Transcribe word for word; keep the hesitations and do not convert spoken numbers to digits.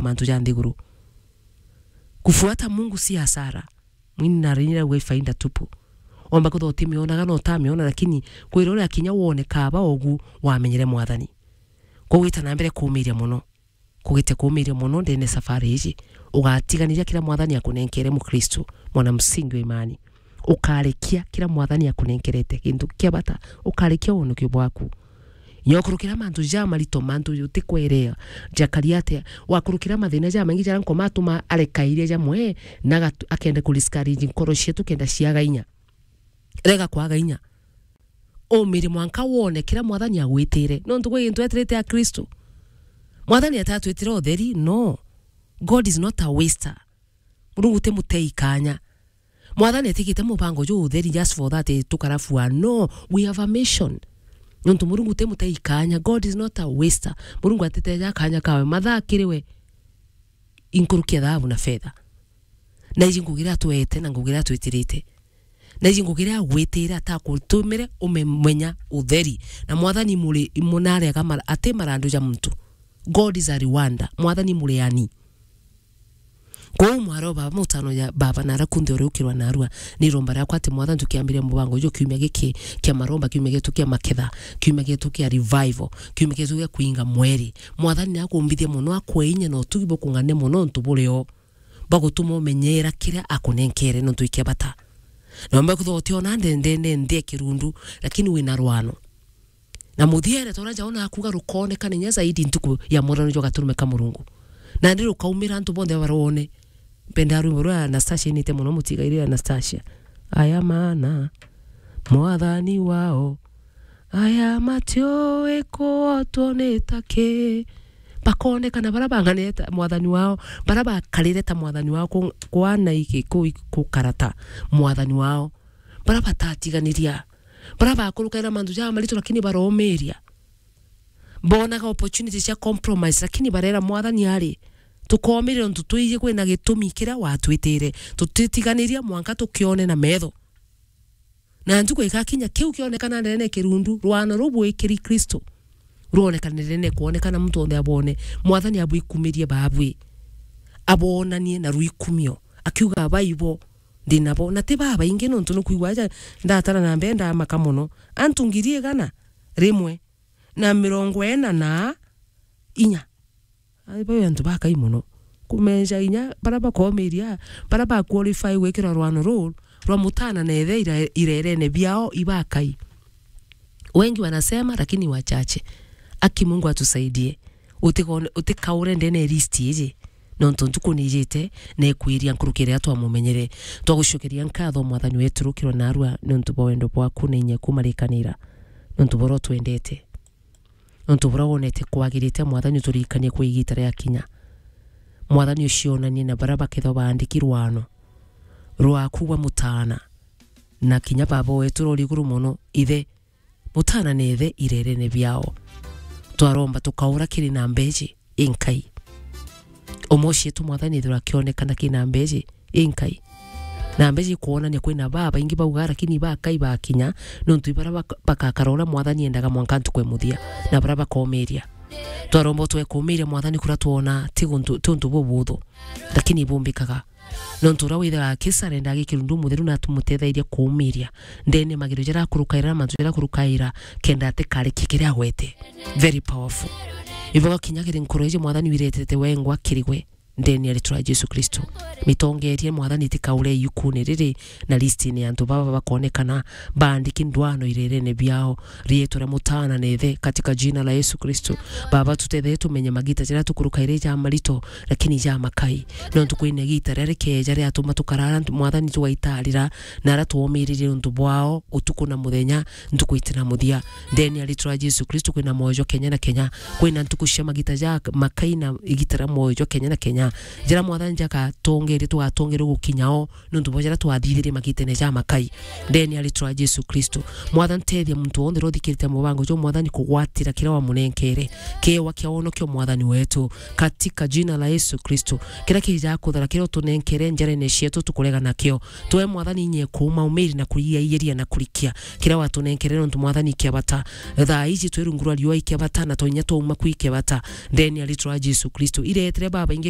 mantu ja nthiguru. Kufuata Mungu si hasara. Mwini na rinira gwe faida tupu. Omba kutho utimionaga na utamiona, lakini kwira uria kinya wone kaba ogu wamenyere Mwathani. Kugwita na mbere kuumiria mono. Kugite kuumiria mono ndene safari iji. Ugatiganiria kira Mwathani akunenkere Mukristo, mwana msingi wa imani. Ukarekia kira Mwathani akunenkerete kintu kia bata. Ukarekia wonokio bwaku. Nyokurukira mantu ja marito, mantu utikwerea. Jakari atia? Wakurukira mathina ja maingi jara nkoma atuma areka iria jamwe, na agatu-, akenda ku discourage nkoro cietu kenda ciaga inya. Rega kwaga inya. Umire mwanka wone kira Mwathani agwitire. Nontu gwi gintu etirite a Kristo. Mwathani atatwitire utheri, no. God is not a waster. Murungu ti mutei kanya. Mwathani atigite mubango ju utheri just for that, eh, tukarafua. No, we have a mission. Nontu Murungu ti mutei kanya. God is not a waster. Murungu atiteja kanya kawe. Mathaa kiri we. Inkurukia thahabu na fetha. Na iji ngugi iria atwete na ngugi iria atwitirite. Na iji ngugi iria agwitire atakutumire umemenya utheri. Na Mwathani muri munarega mar-, ati marandu ja muntu. God is a rewarder. Mwathani mureani. Kwou mwaro baba mutano ya baba nara kunthe uri ukirwa narua. Ni romba riakwa ati Mwathani tukiambiria mubango uju kiumia giki kia maromba, kiumia gitu kia maketha, kiumia gitu kia revival, kiumia gitu gia kuinga mweri. Mwathani ni akumbithia mono, akwe inya na utugi bukung'ane mono untu burio. Bagutuma umenyera kiria akunenkere nontu ikia bata. Na umbe kutho utiona ndendene nthi ya kirundu, lakini wina rwano. Na muthiere tora nja ona akuga rukonekana inya zaidi ntuku ya murano jwa gaturume ka Murungu. Na ndi rukaumira antu bonthe barwone. Mpenda rwimbo rwa Anastasia inite mono mutigaire Anastasia. Aya maana, Mwathani wao. Aya matiui kuotwo ni ta ki. Bakonekana bara bang'anire ta mwathani wao, bara bakarire ta mwathani wao, ku-, kwana iki ku-, gukara ta mwathani wao, bara batatiganiria, bara bakurukaira mantu ja maritu lakini baromiria. Bonaga opportunity cia compromise, lakini barera Mwathani ari, tukomiria untu twiji kwina gitumi kiria watwitire. Tutitiganiria mwanka tukione na metho. Na ntuku igakinya kiu kionekana ndene kirundu, rwano ruu bwikiri Kristo. Rwonekana ndene kwonekana muntu onthe abone. Mwathani abwikumirie babwi. Abonanie na rwikumio. Akiuga baibo, ndi nabo. Na ti babaingi nontu nukwigua aja ndatara na mbere ndamaka mono. Antu ngiri igana rimwe na mirongo ina na inya. Ai, bau antu bakai mono. Kumenja inya bara bakomiria, bara ba qualify gwikirwa rwano ruu rwa mutana na ithe ira-, irerene biao ibakai. Wengi wanasema, lakini wachache. Aki Mungu atusaidie. Utikone-, utikaure ndene list iji. Nontu ntuku nijite, na ikwiria nkuruki iria twamumenyere. Twagucokeria nkatho, Mwathani wetu, rukirwa narua, nontu bwa wendo bwaku na inya kumarikanira. Nontu boro twendete. Nontu buria wonete kwagirite, Mwathani, uturirikanie kwa igita riakinya. Mwathani, ucionanie na baria bakethwa baandiki rwano rwaku gwa mutaana, na kinya Baba wetu uri iguru mono, ithe, mutaana na ithe irerene biao. Twaromba tukaura kiri namba iji inkai. Umwe cietu, Mwathani, ethirwa akionekana ki namba iji inkai. Namba iji ikwonania kwina babaingi baugaa, lakini bakai bakinya, nontu ibaria bak-, bakakara uria Mwathani endaga mwanka ntuku ya muthia, na baria bakomiria. Twaromba utwe kumiria, Mwathani, kuria twona ti guntu, ti untu bubuthu, lakini ibumbikaga. Nontu uria withaga akisarenda agikirundu mutheru na atumutethairie kuumiria ndene magerio jaria akurukaira na mantu jaria akurukaira, kenda atikarikie kiria agwete. Very powerful. Iboga kinya kiri nkoro iji, Mwathani, wiretete wengwa kiri gwe. Ndene ya ritwa ria Jesu Kristo. Mitongerie, Mwathani, itikaure iukune riri na listine ya antu baba bakonekana baandiki ndwano irerene biao. Rietwa ria mutaana na ithe, katika jina la Yesu Kristo. Baba, tutethee tumenye magita jaria tukurukaire ja marito, lakini ja makai. Nontu kwina igita riria rikeja riatuma tukarara, Mwathani, tugaitarira, na aria twomiririe untu bwao utuku na muthenya, ntuku iti na muthia. Ndene ya ritwa ria Jesu Kristo, kwina mwoyo jwa kenya na kenya. Kwina ntuku cia magita ja makai na igita ria mwoyo jwa kenya na kenya. Jira Mwathani jakatongeria, tugatongeria gukinya o, nontu bwa jira twathithirie magitene ja makai. Ndeni ya ritwa ria Jesu Kristo. Mwathani, tethia muntu wonthe uria uthikirite mubango jo, Mwathani, kugwatira kiria wamunenkere. Kiewa kia wonokio, Mwathani wetu. Katika jina la Yesu Kristo. Kiria kija kuthara, kiria utunenkere njarene cietu tukurega nakio. Twe, Mwathani, inya kuuma umiri na kuriairia na kurikia. Kiria watunenkere nontu, Mwathani, ikia bata. Thaa iji twi rungu rwa riua ikia bata, na tonya twauma ku ikia bata. Ndeni ya ritwa ria Jesu Kristo. Iretere babaingi